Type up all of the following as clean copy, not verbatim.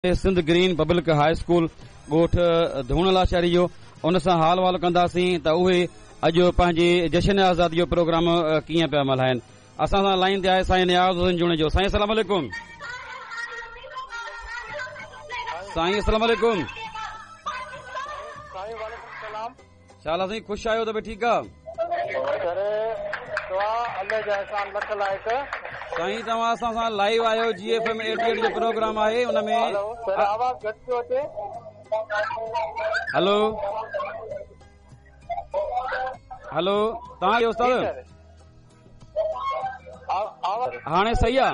Sindh green public high school ڳوٺ ڌوڻ لاشاري جو ان سان حال احوال ڪنداسين ته اهي اڄ پنهنجي جشن آزادي جو پروگرام ڪيئن پيا ملهائن. اسان سان لائين تي آهي سائين نياز حسين جوڻيجو. سائين السلام عليڪم. سائين السلام عليڪم. سائين وعليڪم السلام. ڇا حال آ سائين خوش آهيو ته ٺيڪ آ؟ سر دعا الله جا احسان لک لائق. سائين توهان اسان سان لائيو آهيو جي ايف ايم 88 جو پروگرام آهي ان ۾. هلو سر آواز گهٽ پيو اچي. هلو هلو توهان کي استاد هاڻي صحيح آ؟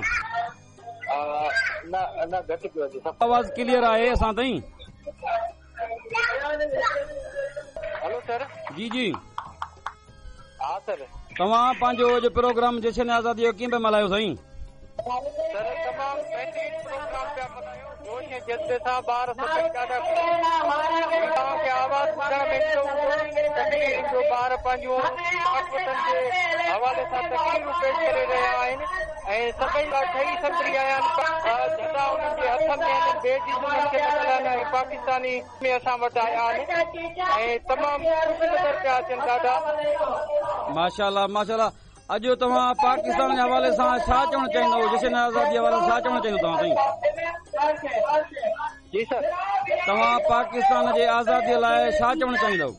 نه نه گهٽ پيو اچي. آواز ڪليئر آهي اسان تائين. هلو سر. جي جي. ها سر. توهان پنهنجو اڄ پروگرام جشن آزادي جو ڪيئن پيا ملهايو سائين؟ سر تمام بهترين پروگرام پيا ملهايون جوش ۽ جذبي سان ٻار سڀئي ڏاڍا خوش توهان کي آواز ٻڌڻ ۾ ايندو هوندو تقريرن جو ٻار پنهنجون پاڪ وطن جي حوالي سان تقريرون پيش ڪري رهيا آهن ۽ سڀئي ٺهي سنڀري آيا آهن جهنڊا انهن جي هٿن ۾ آهن بيجز انهن کي لڳل آهن ۽ پاڪستاني ۾ اسان وٽ آيا آهن ۽ تمام خوش نظر پيا اچن ڏاڍا. ماشاءالله ماشاءالله اڄ توهان پاڪستان جي حوالي سان ڇا چوڻ چاهيندو جشن آزادي جي حوالي سان ڇا چوڻ چاهيندو توهان سائين؟ جي سر. توهان پاڪستان جي آزادي لاء ڇا چوڻ چاهيندو؟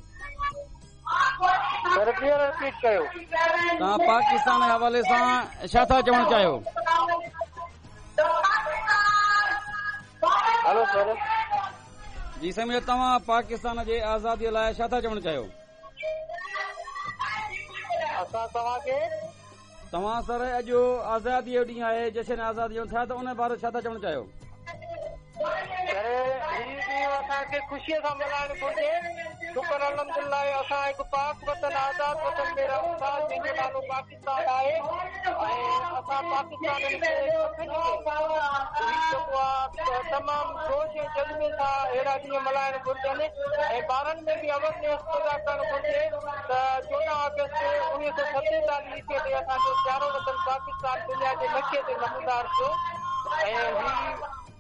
سر ٻيهر رپيٽ ڪيو. توهان پاڪستان جي حوالي سان ڇا ٿا چوڻ چاهيو؟ هلو سر. جي سائين منهنجا توهان پاڪستان جي آزادي لاء ڇا ٿا چوڻ چاهيو؟ اسان توهان کي. توهان سر اڄ آزادي جو ڏينهن آهي جشن آزادي جو ٿيا ته ان باري ڇا ٿا چوڻ چاهيو؟ سر هي ڏينهن اسان کي خوشي سان ملهائڻ گهرجي شڪر الحمدلله اسان هڪ پاڪ وطن آزاد وطن ۾ رهون ٿا جنهن جو نالو پاڪستان آهي ۽ اسان پاڪستانين کي سڀني کي هي جيڪو آهي تمام جوش ۽ جذبي سان اهڙا ڏينهن ملهائڻ گهرجن ۽ ٻارن ۾ به اويرنيس پيدا ڪرڻ گهرجي ته 14 آگسٽ 1947 عيسويء تي اسان جو پيارو وطن پاڪستان دنيا جي نقشي تي نمودار ٿيو ۽ هي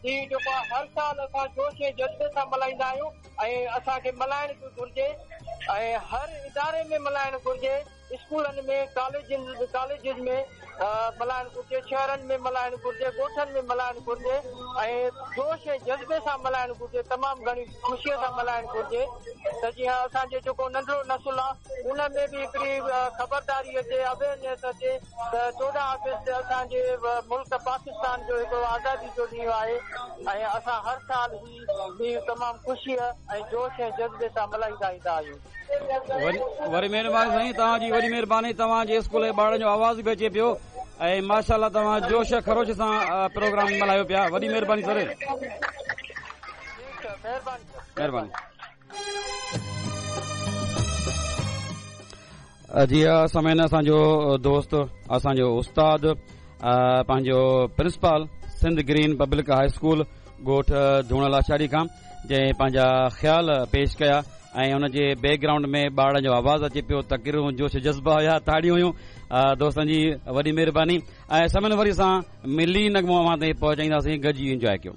ڏينهن جيڪو آهي هر سال اسان جوش ۽ جذبي سان ملهائيندا آهيون ۽ اسان کي ملهائڻ به گهرجي ۽ هر اداري ۾ ملهائڻ گهرجي اسڪولن ۾ ڪاليجن ڪاليجز ۾ ملهائڻ گهرجي شهرن ۾ ملهائڻ گهرجي ڳوٺن ۾ ملهائڻ گهرجي ۽ جوش ۽ جذبي سان ملهائڻ گهرجي تمام گهڻي خوشيء سان ملهائڻ گهرجي ته جيئن اسان جو جيڪو ننڍڙو نسل آ ان ۾ به هڪڙي خبرداري اچي اويئرنيس اچي ته 14 آگسٽ اسان جي ملڪ پاڪستان جو هڪڙو آزادي جو ڏينهن آهي ۽ اسان هر سال هي ڏينهن تمام خوشيء ۽ جوش ۽ جذبي سان ملهائيندا ايندا آهيون. وري مهرباني سائين توهان جي وڏي مهرباني توهان جي اسڪول جي ٻارڙن جو آواز به اچي پيو ۽ ماشاءالله توهان جوش خروش سان پروگرام ملهايو پيا وڏي مهرباني سر. مهرباني جي ها سامعين اسان جو دوست اسان جو استاد پنهنجو principal Sindh green public high school ڳوٺ ڌوڻ لاشاري کان جنهن پنهنجا خيال پيش ڪيا ۽ ان جي بيڪ گرائونڊ ۾ ٻارڙن جو آواز اچي پيو تقريرون جوش جذبا هيا تاڙيون هيون دوستن جي وڏي مهرباني ۽ سامعين وري سان ملي نغمو اوهان تائين پهچائينداسين گڏجي انجواء ڪيو.